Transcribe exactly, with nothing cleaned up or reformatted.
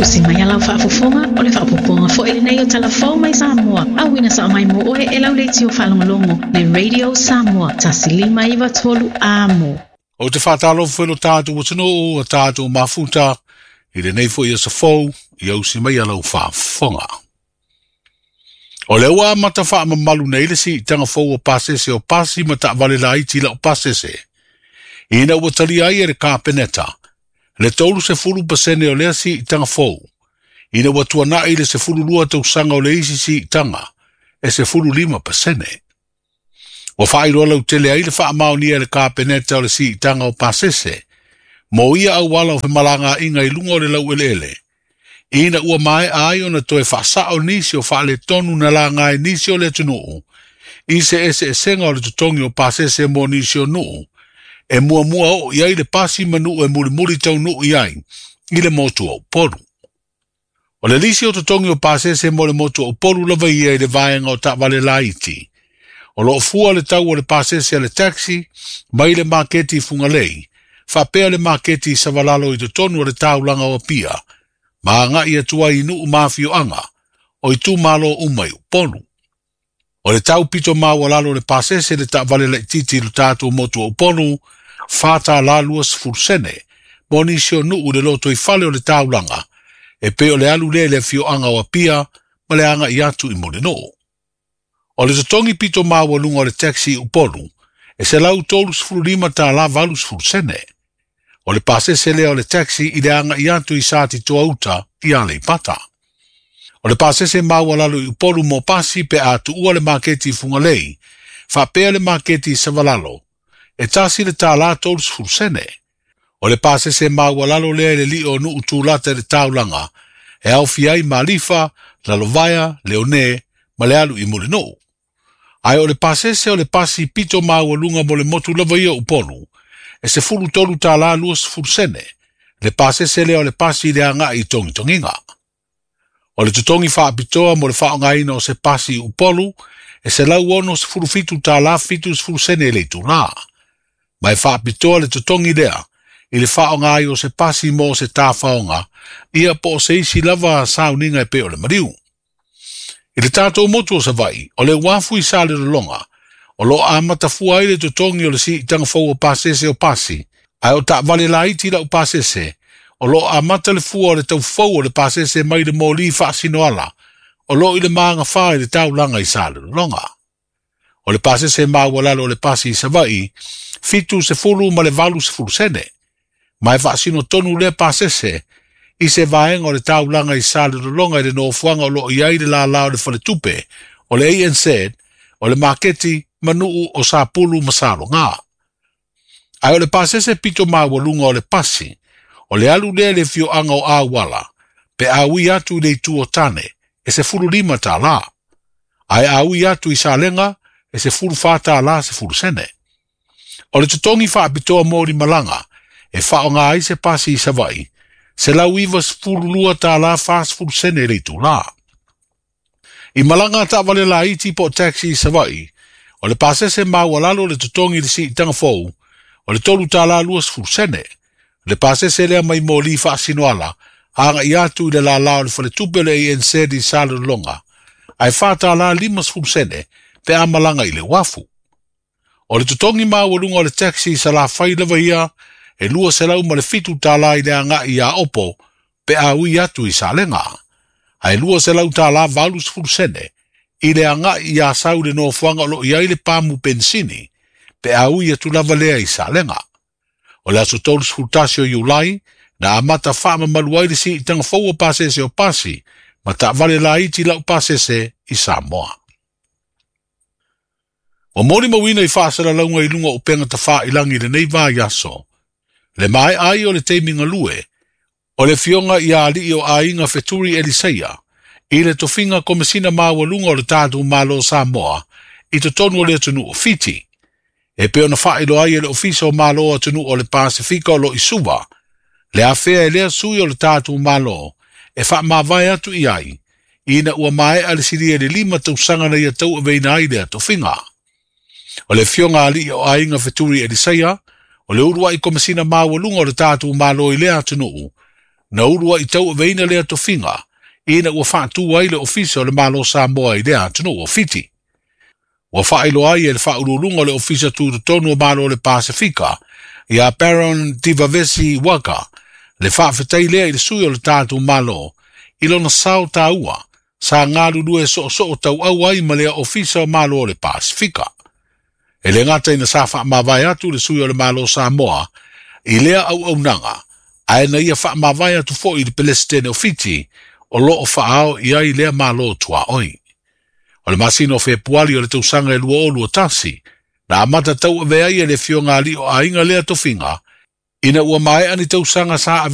Tusi mai a lau faafofoga o le faaopoopoga foi lenei o Talafou mai Samoa. Auina sao mai mo oe e lau leitio faalogologo le Radio Samoa tasi lima iva tolu amo. O te whātalofa foi lo tātou atunuu o tātou mafuta i lenei foi aso fou i ausi mai a lau faafofoga. O le ua amata faamamalu nei le siitaga fou o pasese o pasi ma taavale laiti lau pasese. Ina ua talia ai e le Kapeneta le tolu sefulu pasene o lea siitaga fou. Ina ua tuanai le sefulu lua tausaga o le isi siitaga e sefulu lima pasene. Ua faailoa lautele ai le faamaonia e le Kapeneta o le siitaga o pasese mo ia auala o femalagaaiga i luga o le laueleele. Ina ua maea ai ona toe faasao nisi o faaletonu na laga ai nisi o le atunuu i se eseesega o le totogi o pasese mo nisi o nuu e muamua oo i ai le pasi ma nuu e mulimuli taunuu i ai i le motu o Upolu. O le lisi o totogi o pasese mo le motu o Upolu lava ia i le vaega o taavale laiti. O loo fua le tau o le pasese a le taxi mai le maketi i Fugalei, faapea le maketi i Savalalo i totonu o le taulaga o Apia, ma agai atu ai i nuu ma afioaga o itumalo uma i Upolu. O le tau pito maualalo o le pasese le taavale laitiiti i lo tatou motu o Upolu, fa tālā lua sefulu sene, mo nisi o nuu i le lotoifale o le taulaga, e pei o le alu lea i le afioaga o Apia ma le agai atu i Mulinuu. O le totogi pito maualuga o le taxi i Upolu, e selau tolu sefulu lima tālā valu sefulu sene. O le pasese lea o le taxi i le agai atu i Satitoa uta i Aleipata. O le pasese maualalo i Upolu mo pasi pe a tuua le maketi i Fugalei, faapea le maketi i Savalalo, e tasi le tālā tolu sefulu sene. O le pasese maualalo lea i le lio o nuu tulata i le taulaga, e aofia ai Malifa, Lalovaea, Leone, ma le alu i Mulinuu. Ae o le pasese o le pasi pito maualuga mo le motu lava ia o Upolu, e sefulu tolu tālā lua sefulu sene, le pasese lea o le pasi i le agai i togitogiga. O le totogi faapitoa mo le faaaogaina o se pasi i Upolu, e selau ono sefulu fitu tālā fitu sefulu sene le itulā. Ma e faapitoa le totogi lea i le faaaoga ai o se pasi mo se tāfaoga, ia po o se isi lava sauniga e pei o le maliu. I le tātou motu o Savaii, o le uafu i Salelologa, o loo amata fua ai le totogi o le siitaga fou o pasese o pasi, ae o taavale laiti lau pasese, o loo amata le fua o le taufou o le pasese mai le moli faasinoala, o loo i le magafā i le taulaga i Salelologa. O le pasese maualalo o le pasi i Savaii, fitu sefulu ma le valu sefulu sene. Ma e faasino tonu lea pasese, i se vaega o le taulaga i Salelologa i le nofoaga o loo i ai le lālā o le faletupe, o le A N Z, o le maketi ma nuu o Sapulu ma Saloga. Ae o le pasese pito maualuga o le pasi, o le alu lea i le afioaga o Auala, pe a ui atu i le itu o Tane, e sefulu lima tālā. Ae a ui atu i Salega, e sefulu fa tālā sefulu sene. O le totogi faapitoa mo limalaga, e faaaoga ai se pasi i Savaii, selau iva sefulu lua tālā fa sefulu sene le itulā. I malaga a taavale laiti po o taxi i Savaii, o le pasese maualalo le totogi i le siitaga fou, o le tolu tālā lua sefulu sene. Le pasese lea mai moli faasinoala, agai atu i le lālā o le faletupe o le A N Z i Salelologa, ae fa tālā lima sefulu sene pe a malaga i le uafu. O le totogi maualuga o le taxi i Salafai lava ia, e lua selau ma le fitu tālā i le agai i Aopo, pe a ui atu i Salega. Ae lua selau tālā valu sefulu sene, i le agai i Asau le nofoaga o loo i ai le pamu pensini, pe a ui atu lava lea i Salega. O le aso tolu sefulu tasi o Iulai, na amata faamamalu ai le siitaga fou o pasese o pasi, ma taavale laiti lau pasese i Samoa. Ua molimauina i faasalalauga i luga o upega tafailagi i lenei vaiaso, le maea ai o le taimi galue, o le afioga ia alii o aiga Feturi Eliseia, i le tofiga komesina maualuga o le tatou Malo o Samoa, i totonu o le atunuu o Fiti. E pei ona faailoa ai e le Ofisa o Malo o atunuu o le Pasefika o loo i Suva, le afea e lea sui o le tatou Malo, e faamavae atu i ai, ina ua maea le silia i le lima tausaga na ia tauaveina ai lea tofiga. O le afioga alii o aiga Feturi Eliseia, o le uluai komesina maualuga o le tatou Malo i lea atunuu, Na ulua'i tauaveina lea tofiga ina ua faatū ai le Ofisa o le Malo Samoa i lea atunuu o Fiti. Ua faailoa ai e le faauluuluga o le Ofisa Tutotonu o Malo o le Pasefika ia Baron Divavesi Waqa le faafetai lea i le sui o le tatou Malo i lona sao taua sa galulue soosoo tauau ai ma lea Ofisa o Malo o le Pasefika. E le gata ina sa faamavae atu le sui o le Malo Samoa i lea auaunaga, ae na ia faamavae atu foi i le Peresetene o Fiti o loo faaao i ai lea malo tuaoi. O le masina o Fepuali o le tausaga e lua o lua tasi, na amata tauave ai e le afioga alii o aiga lea tofiga, ina ua maea ni tausaga sa ave